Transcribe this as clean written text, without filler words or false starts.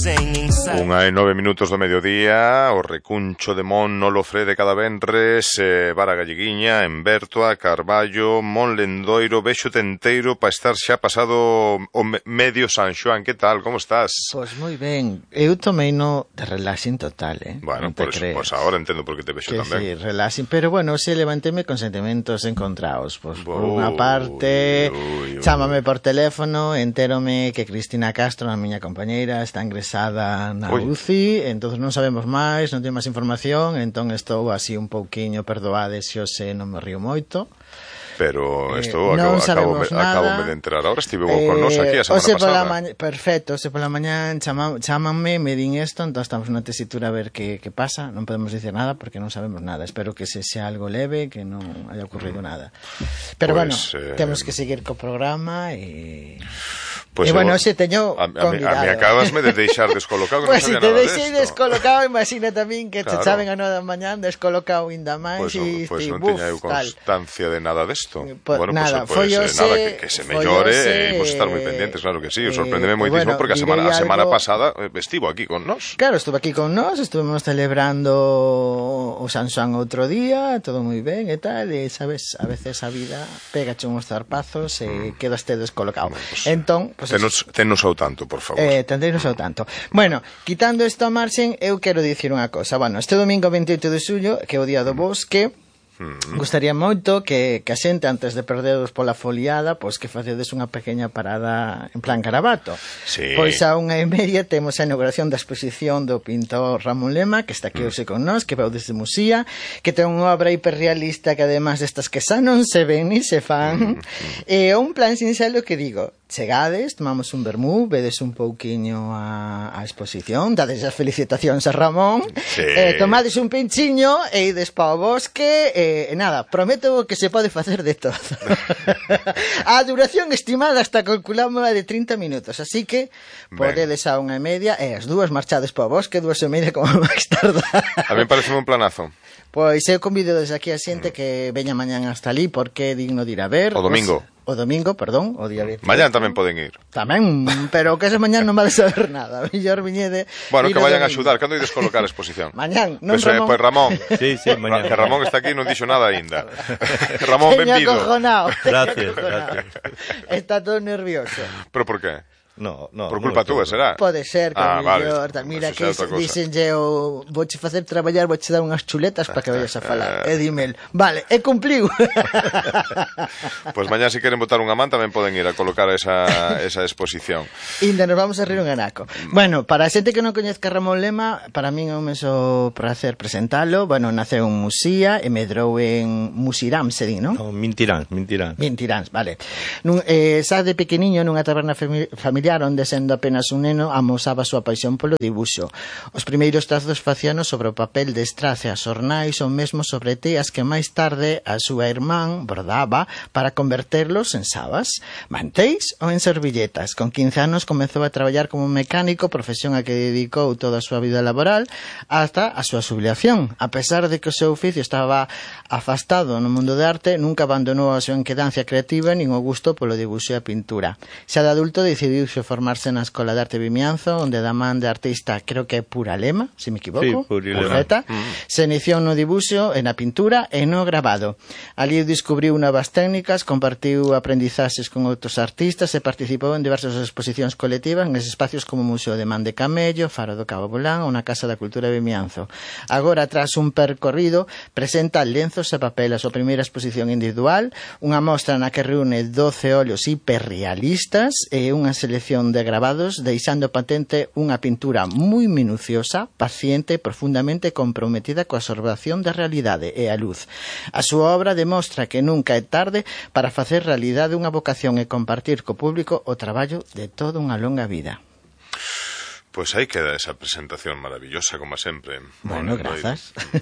Unha e 9 minutos do mediodía, o recuncho de Mon Olofrede cada venres, Vara Galleguiña, en Bertoa, Carballo, Mon Lendoiro, Vexo Tenteiro, para estar xa pasado o medio San Xoán. Que tal, como estás? Pois moi ben, eu tomeino de relaxing total, Bueno, por eso, pues ahora entendo por que te vexo tamén. Sí, relaxing, pero bueno, se levantéme con sentimentos encontrados. Pois por unha parte, chámame por teléfono, entérome que Cristina Castro, a miña compañeira, está ingresada na UCI, entón non sabemos máis, non ten máis información, entón estou así un pouquiño, perdoade se hoxe non me río moito. Pero isto acabo de enterar ahora, estive con nos aquí a semana pasada. Perfecto, se pola mañá chámanme, me din isto, entón estamos na tesitura a ver que pasa, non podemos dicir nada porque non sabemos nada, espero que se sea algo leve, que non haya ocurrido nada. Pero bueno, temos que seguir co programa e... Pues bueno, se teño convidado. A mí acabasme de deixar descolocado, pues non sabía nada desto. Pues se te deixei descolocado, imagina tamén que te chaven a 9 da mañá descolocado ainda máis. Pues non teña eu constancia de nada desto. Bueno, nada, pues nada, que se mellore e imos estar moi pendientes, claro que sí. Sorprendeme moitísimo porque a semana pasada estivo aquí con nós. Claro, estuve aquí con nós, estuvemos celebrando o San Xoán outro día, todo moi ben e tal, e sabes, a veces a vida pégache uns zarpazos e quedaste descolocado. Entón, tennos ao tanto, por favor. Tendreinos ao tanto. Bueno, quitando isto a marxen, eu quero dicir unha cosa. Bueno, este domingo 28 de xullo, que é o Día do Bosque, gustaría moito que a xente, antes de perderos pola foliada, pois que facedes unha pequena parada en plan Carabato. Sí. Pois a 1:30 temos a inauguración da exposición do pintor Ramón Lema, que está aquí hoxe con nós, que veu desde Musía, que ten unha obra hiperrealista que además destas que xa non se ven ni se fan, e un plan sinxelo que digo, chegades, tomamos un vermú, vedes un pouquiño a exposición, dades as felicitacións a Ramón, tomades un pinchiño e ides pa o bosque, e nada, prometo que se pode facer de todo. A duración estimada hasta calculámola de 30 minutos, así que podedes a 1:30 e as dúas marchades pa o bosque, 2:30 como máis tarda. A mí parece un planazo. Pois eu convido desde aquí a xente que veña mañán hasta ali porque é digno de ir a ver. O domingo. O domingo, perdón, o día 28. Mañán tamén poden ir. Tamén, pero que ese mañán non vale saber nada. Mellor viñede. Bueno, que vayan a axudar. Cando ides colocar a exposición? Mañán, non pues, Ramón. Pois Ramón. Sí, mañán. Que Ramón está aquí e non dixo nada aínda. Ramón, benvido. Gracias. Está todo nervioso. Pero por qué? No, por culpa túa, será? Pode ser, que mellor, mira que díxenlle vouche facer traballar, vouche dar unhas chuletas para que vayas a falar. E dímel, vale, e cumpliu. Pois mañá se queren botar unha man tamén poden ir a colocar esa exposición. Inda nos vamos a rir un anaco. Bueno, para a xente que non coñezca Ramón Lema, para min é un menso prazer presentalo. Bueno, naceu en Musía e medrou en Musirán, se di, non? No, Mintiráns, vale. Xa de pequeniño nunha taberna familiar onde sendo apenas un neno amosaba a súa paixón polo dibuxo. Os primeiros trazos facíanos sobre o papel de estrace a xornais ou mesmo sobre teas que máis tarde a súa irmán bordaba para converterlos en sabas, manteis ou en servilletas. Con 15 anos comezou a traballar como mecánico, profesión a que dedicou toda a súa vida laboral hasta a súa xubilación. A pesar de que o seu oficio estaba afastado no mundo de arte, nunca abandonou a súa inquedancia creativa nin o gusto polo dibuxo e a pintura. Xa de adulto decidiu formarse na Escola de Arte Vimianzo, onde da man de artista, creo que é Pura Lema, se me equivoco, sí, perfecta, se iniciou no dibuxo, na pintura e no grabado. Ali descubriu novas técnicas, compartiu aprendizaxes con outros artistas e participou en diversas exposicións colectivas en espacios como o Museo de Man de Camello, Faro do Cabo Bolán ou na Casa da Cultura de Vimianzo. Agora, tras un percorrido, presenta lenzos e papel a súa primeira exposición individual, unha mostra na que reúne 12 óleos hiperrealistas e unha selección de grabados, deixando patente unha pintura moi minuciosa, paciente e profundamente comprometida coa observación da realidade e a luz. A súa obra demostra que nunca é tarde para facer realidade unha vocación e compartir co público o traballo de toda unha longa vida. Pois aí queda esa presentación maravillosa, como sempre. Bueno, grazas.